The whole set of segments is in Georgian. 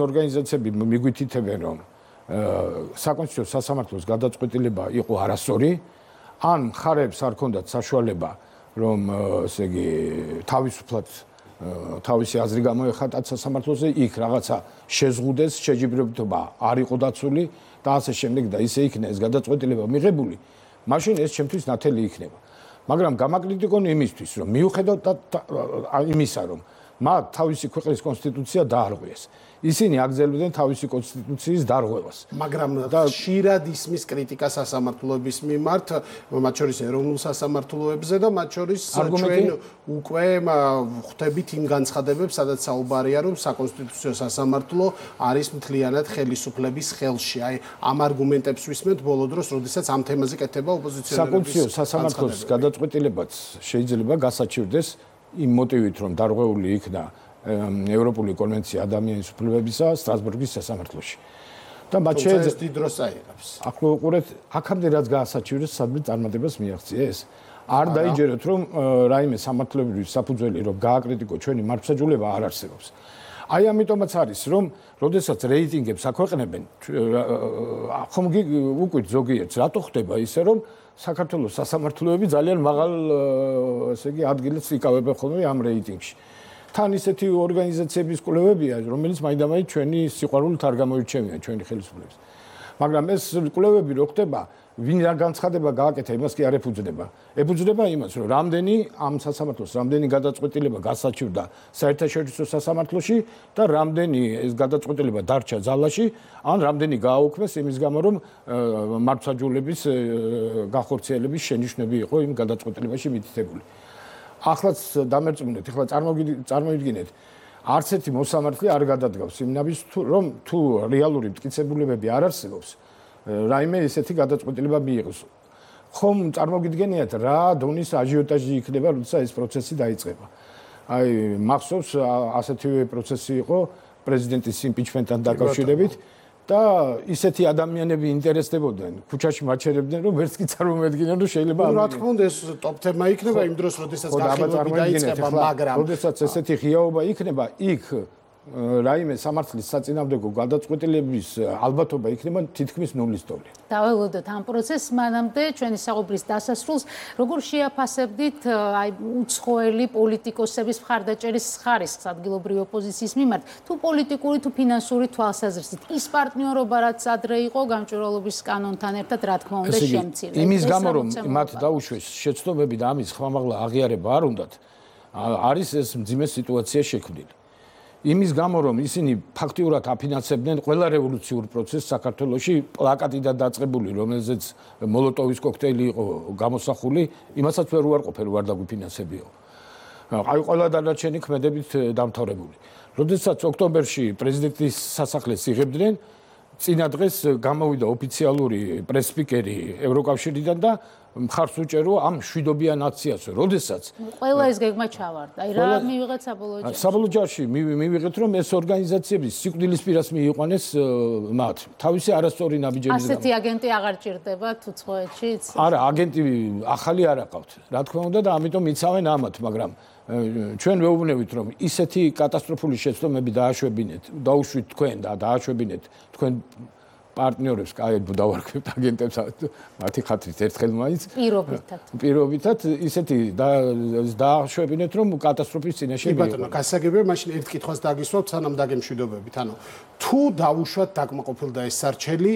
ორგანიზაციები მიგვითითებენ, რომ საკონსტიტუციო სასამართლოს გადაწყვეტილება იყო არასწორი, ან მხარებს არ ქონდათ საშუალება, რომ ესე იგი თავისუფლად თავისი აზრი გამოეხატათ სასამართლოზე, იქ რაღაცა შეზღუდეს, შეჯიბრებითობა არ იყო დაცული და ასე შემდეგ და ისე იქნა ეს გადაწყვეტილება მიღებული, მაშინ ეს ჩემთვის ნათელი იქნება. მაგრამ გამაკრიტიკონ იმისთვის, რომ მიუხედავად იმისა, რომ მათ თავისი ქვეყნის კონსტიტუცია დაარღვიეს. ისინი აგრძელებდნენ თავისი კონსტიტუციის დარღვევას. მაგრამ ხშირად ისმის კრიტიკა სასამართლოების მიმართ, მათ შორის ეროვნულ სასამართლოებზე და მათ შორის ჩვენ უკვე ხვდებით იმ განცხადებებს, სადაც საუბარია, რომ საკონსტიტუციო სასამართლო არის მთლიანად ხელისუფლების ხელში. აი, ამ არგუმენტებს ვისმენთ ბოლო დროს, როდესაც ამ თემაზე კეთება ოპოზიციონერების საკონსტიტუციო სასამართლოს გადაწყვეტილებაც შეიძლება გასაჩივრდეს იმ მოტივით, რომ დარღვეული იქნა ევროპული კონვენცია ადამიანის უფლებებისა სტრასბურგის სასამართლოში. და მათ ეს დიდ დროს აიღებს. ახლო უყურეთ, აქამდე რაც გაასაჩივრეს, სადმე წარმატებას მიაღწიეს. არ დაიჯეროთ, რომ რაიმე სამართლებრივი საფუძველი, რომ გააკრიტიკო ჩვენი მართლმსაჯულება არ არსებობს. აი ამიტომაც არის, რომ როდესაც რეიტინგებს აქვეყნებენ, ხომ უკვე ზოგიერთს რატო ხდება ისე, რომ საქართველოს სასამართლოები ძალიან მაღალ ესე იგი ადგილებს იკავებენ ხოლმე ამ რეიტინგში. თან ისეთი ორგანიზაციების კვლევებია, რომელიც მაინდამაინც ჩვენი სიყვარულით არ გამოირჩევიან ჩვენი ხელისუფლების. მაგრამ ეს კვლევები რო ხდება, ვინ რა განცხადება გააკეთა, იმას კი არ ეფუძნება. ეფუძნება იმას, რომ რამდენი ამ სასამართლოს რამდენი გადაწყვეტილება გასაჩივრდა საერთაშორისო სასამართლოში და რამდენი ეს გადაწყვეტილება დარჩა ძალაში, ან რამდენი გააუქმეს იმის გამო, რომ მართლმსაჯულების განხორციელების შენიშვნები იყო იმ გადაწყვეტილებაში მითითებული. ახლაც დამერწმუნეთ, ეხლა წარმოვიდგინეთ, არც ერთი მოსამართლე არ გადადგავს იმ ნაბიჯს, რომ თუ რეალური მტკიცებულებები არ არსებობს, რაიმე ესეთი გადაწყვეტილება მიიღოს. ხომ წარმოგიდგენიათ რა დონის აჟიოტაჟი იქნება, როცა ეს პროცესი დაიწყება. აი, მახსოვს ასეთივე პროცესი იყო პრეზიდენტის იმპიჩმენტთან დაკავშირებით. და ისეთი ადამიანები ინტერესდებოდნენ, ქუჩაში მაჩერებდნენ, რომ ვერც კი წარმომედგინდნენ, რომ შეიძლება რა თქმა უნდა ეს ტოპ თემა იქნება იმ დროს, როდესაც გახილვები დაიწყება, მაგრამ როდესაც ესეთი ღიაობა იქნება, იქ რაიმე სამართლის საწინააღმდეგო გადაწყვეტილების ალბათობა იქნება თითქმის ნულის დონე. დაველოდოთ ამ პროცესს, მანამდე ჩვენი საუბრის დასასრულს, როგორ შეაფასებდით აი უცხოელი პოლიტიკოსების მხარდაჭერის ხარისხს ადგილობრივი ოპოზიციის მიმართ, თუ პოლიტიკური, თუ ფინანსური თვალსაზრისით, ის პარტნიორობა, რაც ადრე იყო გამჭვირვალობის კანონთან ერთად, რა თქმა უნდა, შემცირდა. იმის გამო, რომ მათ დაუშვეს შეცდომები და ამის ხმამაღლა აღიარება არ უნდათ, არის ეს მძიმე სიტუაცია შექმნილი. იმის გამო, რომ ისინი ფაქტიურად აფინანსებდნენ ყველა რევოლუციურ პროცესს საქართველოში, პლაკატიდან დაწყებული, რომელზეც მოლოტოვის კოქტეილი იყო გამოსახული, იმასაც ვერ უარყოფენ, რომ არ დაგვიფინანსებიო. აი ყველა დანარჩენი ქმედებით დამთავრებული. როდესაც ოქტომბერში პრეზიდენტის სასახლეს იღებდნენ, წინა დღეს გამოვიდა ოფიციალური პრესსპიკერი ევროკავშირიდან და მხარს უჭერო ამ მშვიდობიან აქციას, როდესაც ყველა ეს გეგმა ჩავარდა. აი რა მივიღეთ საბოლოო ჯამში? საბოლოო ჯამში მივიღეთ, რომ ეს ორგანიზაციები სიკვდილის პირას მიიყვანეს მათ თავისი არასწორი ნაბიჯების გამო. ასეთი აგენტი აღარ ჭირდებათ უცხოეთშიც? არა, აგენტი ახალი არ აყავთ. რა თქმა უნდა და ამიტომ იცავენ ამათ, მაგრამ ჩვენ ვეუბნებით, რომ ისეთი კატასტროფული შეცდომები დააშვებინეთ, დაუშვით თქვენ და დააშვებინეთ თქვენ პარტნიორებს, კაი დავარქვით აგენტებს, მათი ხათრით ერთხელ მაინც პირობითად ისეთი დააშვებინეთ, რომ კატასტროფის წინაშე კი ბატონო, გასაგებია, მაშინ ერთ კითხვას დაგისვავთ, სანამ დაგემშვიდობებით. ანუ თუ დაუშვათ დაკმაყოფილდა ეს სარჩელი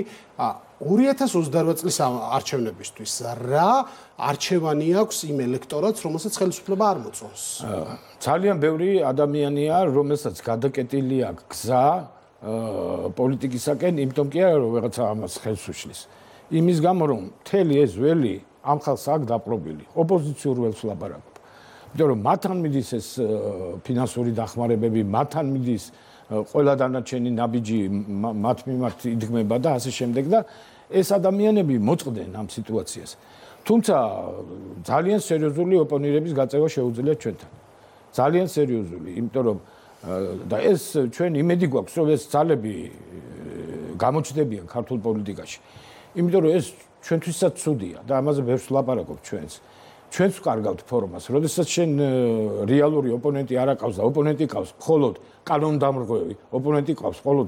2028 წლის არჩევნებისთვის, რა არჩევანი აქვს იმ ელექტორატს, რომელსაც ხელისუფლება არ მოწონს? ძალიან ბევრი ადამიანია, რომელსაც გადაკეტილი აქვს გზა პოლიტიკისაკენ, იმიტომ კი არა, რომ ვიღაცა ამას ხელს უშლის. იმის გამო, რომ მთელი ეს ველი ამ ხალხს აქვს დაპყრობილი, ოპოზიციურ ველს ვლაპარაკობ. იმიტომ რომ მათთან მიდის ეს ფინანსური დახმარებები, მათთან მიდის ყველა დანარჩენი ნაბიჯი მათ მიმართ იდგმება და ასე შემდეგ და ეს ადამიანები მოწყდნენ ამ სიტუაციას. თუმცა ძალიან სერიოზული ოპონირების გაწევა შეუძლიათ ჩვენთან. ძალიან სერიოზული, იმიტომ რომ და ეს ჩვენ იმედი გვაქვს, რომ ეს ძალები გამოჩნდებიან ქართულ პოლიტიკაში. იმიტომ რომ ეს ჩვენთვისაც ცუდია და ამაზე ბევრს ვლაპარაკობ ჩვენს. ჩვენს ვკარგავთ ფორმას, როდესაც შენ რეალური ოპონენტი არ აკავს და ოპონენტი ყავს მხოლოდ კანონდამრღვევი, ოპონენტი ყავს მხოლოდ